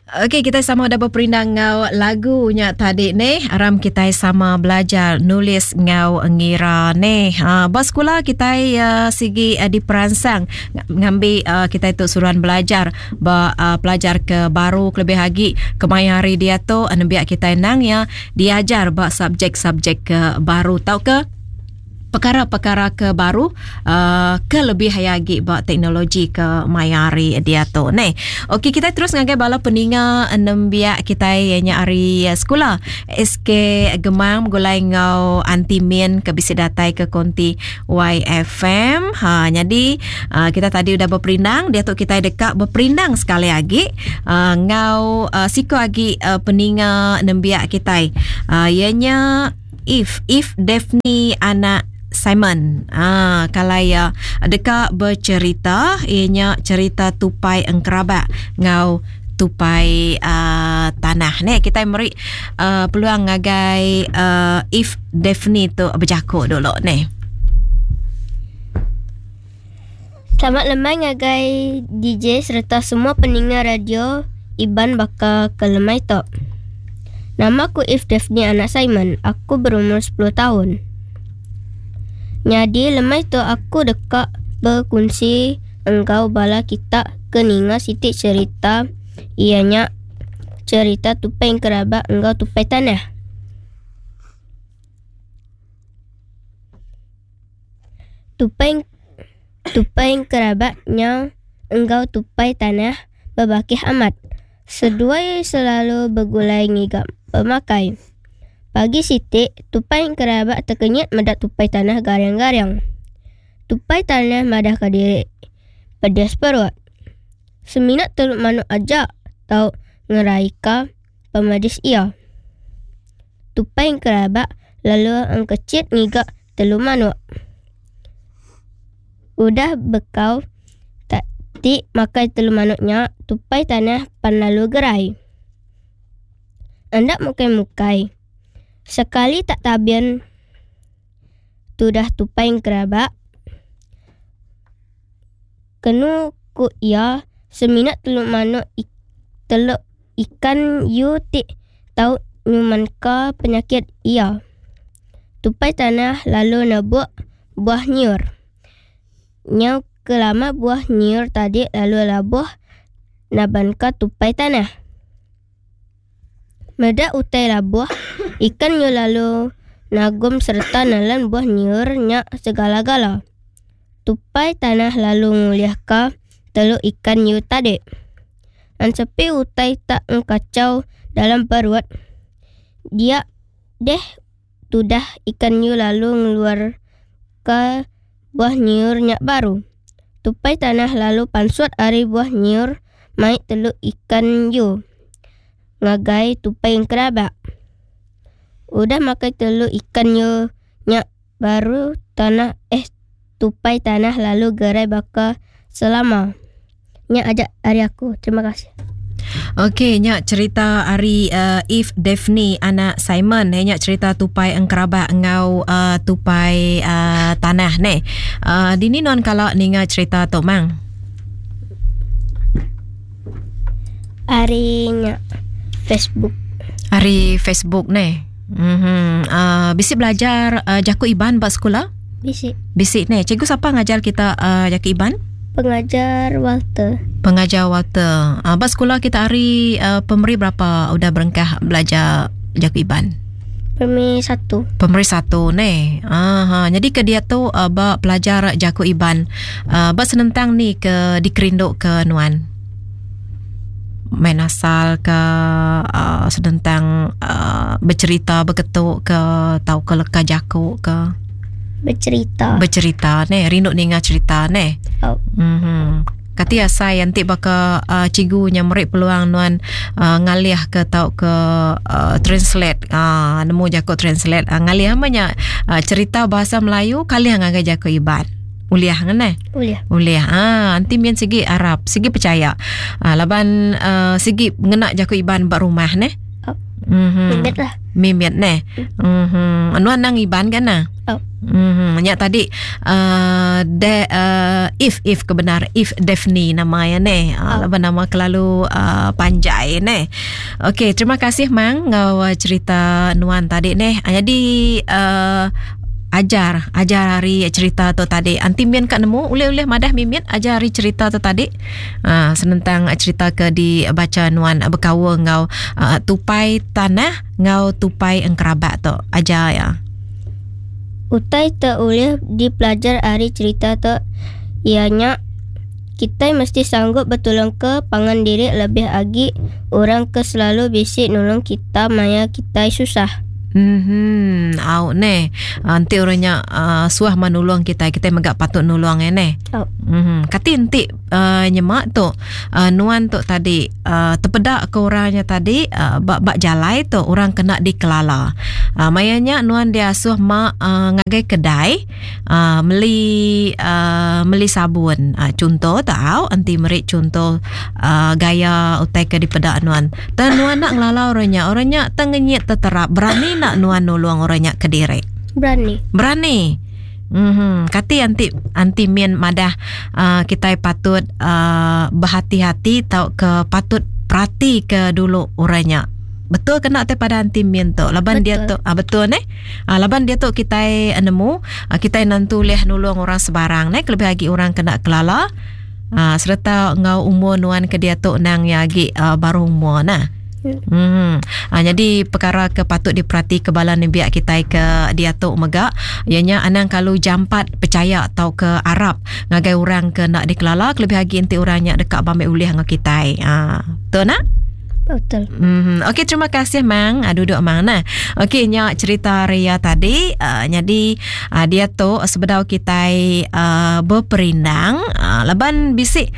Okey, kita sama udah beperindang ngau lagu nya tadi neh. Aram kita sama belajar nulis ngau ngira neh. Ha, ba sekolah kita uh, sigi uh, diperansang ngambi uh, kita itu suruhan belajar ba uh, pelajar ke baru kelebih lagi kemaya hari dia tu nembiak kita nang ya diajar ba subjek-subjek ke baru tauka pekara-pekara ke baru uh, ke lebih aya agi ba teknologi ke maya hari diatu neh. Okey kita terus ngagai bala peninga nembiak kita iya nya ari eh, sekula SK Gemang begulai enggau Aunty Min ke bisi datai ke konti YFM. Ha jadi uh, kita tadi udah beperindang diatu kita deka beperindang sekali agi uh, enggau uh, siko agi uh, peninga nembiak kita. Uh, iya nya If If Daphne anak Simon. Ah, kalai iya deka bercerita iya nya cerita tupai engkerabak enggau tupai uh, tanah. Ne kita meri uh, peluang ngagai uh, If Daphne tu bejaku dulu ne. Selamat lemai ngagai DJ sereta semua peninga radio Iban baka ke lemai tu. Nama aku If Daphne anak Simon. Aku berumur 10 taun. Nyadi lemai tu aku deka bekunsi enggau bala kita ke ninga siti cherita iya nya cherita Tupai Engkerabak enggau Tupai Tanah. Tupai tupai kerabat nya enggau tupai tanah bebakih amat. Seduai selalu begulai ngiga pemakai. Pagi siti, tupai kerabat tekenyit meda tupai tanah garing-garing. Tupai tanah madahka diri pedis perut. Semina teluk manuk aja tau ngeraika pemedis iya. Tupai kerabat lalu engkechit ngiga telu manuk. Udah bekau ti makai telu manuk nya, tupai tanah pan lalu gerai. Enda mukai-mukai. Sekali tak tabin tudah tupai engkerabak. Kenu ku iya, semina telu manuk teluk ikan yu ti tau nyumanka penyakit iya. Tupai tanah lalu nebuk buah nyiur. Nyau ke lama buah nyiur tadi lalu labuh nabanka tupai tanah. Meda utai labuh, ikan nyu lalu nagum sereta nelan buah nyiur nya segala-gala. Tupai tanah lalu ngulihka teluk ikan nyu tadi. Ensepi utai tak engkachau dalam perut, dia deh tudah ikan nyu lalu ngeluarka buah nyiur nya baru. Tupai tanah lalu pansut ari buah nyiur mai teluk ikan yu ngagai tupai engkerabak. Udah makai teluk ikan yu nya baru tanah eh tupai tanah lalu gerai baka selama. Nya aja ari aku. Terima kasih. Okey, nya cerita ari uh, Eve Daphne anak Simon. Eh, nya cerita tupai engkerabak enggau uh, tupai uh, tanah neh. Uh, dini nuan kala ninga cerita tu mang? Ari nya Facebook. Ari Facebook neh. Mhm. Uh, bisi belajar uh, jaku Iban ba sekula? Bisi. Bisi neh. Cikgu sapa ngajar kita uh, jaku Iban? Pengajar Walter. Pengajar Walter. Uh, ba sekula kita ari uh, pemeri berapa udah berengkah belajar jaku Iban? Pemeri satu. Pemeri satu neh. Aha. Jadi ke dia tu uh, ba pelajar jaku Iban. Uh, ba senentang ni ke dikerindu ke nuan? Main asal ke uh, senentang uh, bercerita beketu ke tau ke leka jaku ke? Bercerita. Bercerita neh, rindu ninga cerita neh. Oh. Mhm. Kati asai enti baka uh, cikgu nya meri peluang nuan uh, ngalih ke tau ke uh, translate uh, nemu jaku translate uh, ngalih ama nya uh, cerita bahasa Melayu kalih ngagai jaku Iban. Ulih ngene? Ulih. Ulih. Ah, enti min sigi arap, sigi percaya. Uh, laban uh, sigi ngena jaku Iban ba rumah neh. Oh. Mm-hmm. Mimit lah. Mimit neh. Mm-hmm. Nuan nang Iban kan nah? Oh. Mm-hmm. Nya tadi uh, de, uh, if if kebenar if Daphne nama ya neh. Uh, oh. Laban nama kelalu uh, panjai neh. Okey, terima kasih mang ngau uh, cerita nuan tadi neh. Uh, jadi uh, ajar ajar hari cerita tu tadi. Anti min ka nemu ulih-ulih madah mimit ajar hari cerita tu tadi. Uh, senentang cerita ke dibaca nuan bekaul enggau uh, tupai tanah enggau tupai engkerabak tu ajar ya. Utai te ulih dipelajar ari cerita tu iya nya kitai mesti sanggup betulungka pangan diri lebih agi orang ke selalu bisi nulung kita maya kitai susah. Mhm, au neh. Enti orang nya uh, suah mah nulung kitai, kitai mega patut nulung eh neh. Au. Mhm. Kati enti uh, nyema tu uh, nuan tu tadi uh, tepeda ke orang nya tadi uh, ba ba jalai tu orang kena dikelala. Uh, maya nya nuan diasuh ma uh, ngagai kedai uh, meli uh, meli sabun. Uh, chunto tau enti meri chunto uh, gaya utai ke dipeda nuan. Tang nuan nak ngelala orang nya. Orang nya tang ngenyit teterap. Berani nak nuan nulung orang nya kediri? Berani. Berani. Mhm. Kati anti anti min madah uh, kitai patut uh, berhati-hati tau ke patut perhati ke dulu orang nya. Betul kena te pada anti min tu. Laban betul. dia tu ah, betul ne. Ah, laban dia tu kitai nemu ah, kitai nentu leh nulung orang sebarang ne kelebih lagi orang kena kelala. Uh, sereta enggau umur nuan ke diatu nang ya agi uh, baru umur nah. Hmm. Uh, jadi perkara ke patut diperhati ke bala nembiak kitai ke diatu mega ianya anang kalu jampat percaya atau ke arap ngagai orang ke nak dikelala kelebih agi enti orang nya deka bambi ulih enggau kitai. Ah, uh, betul nak? Betul. Mm-hmm. Okey, terima kasih Mang. Uh, duduk Mang nah. Okey, nya cerita Ria tadi. Uh, jadi uh, dia tu sebedau kitai uh, berperindang uh, laban bisi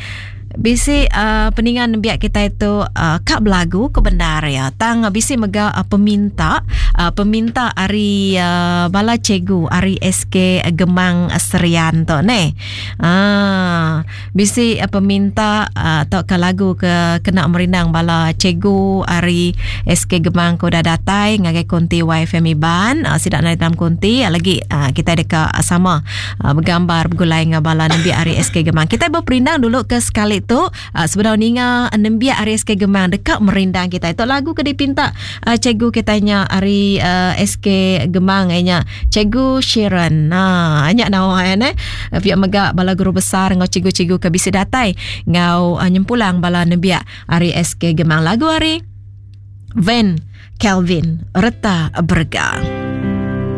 bisi uh, peningan nembiak kitai tu uh, ka belagu ke bendar ya. Tang uh, bisi mega uh, peminta uh, peminta ari uh, bala cikgu ari SK Gemang Serian tu neh. Ah, Bisi peminta tauka lagu ke kena merindang bala cikgu ari SK Gemang ke udah datai ngagai konti YFM Iban. Sida nadai dalam konti lagi kitai deka sama begambar begulai enggau bala nembiak ari SK Gemang. Kitai beperindang dulu ke sekali tu sebedau ninga nembiak ari SK Gemang deka merindang kitai. Tu lagu ke dipinta cikgu kitai nya ari SK Gemang iya nya Cikgu Sharon. Ha, nya nawa ya neh. Pia mega bala guru besar enggau cikgu-cikgu ke bisi datai enggau uh, nyempulang bala nembiak ari SK Gemang. Lagu ari Van Kelvin Reta Berega.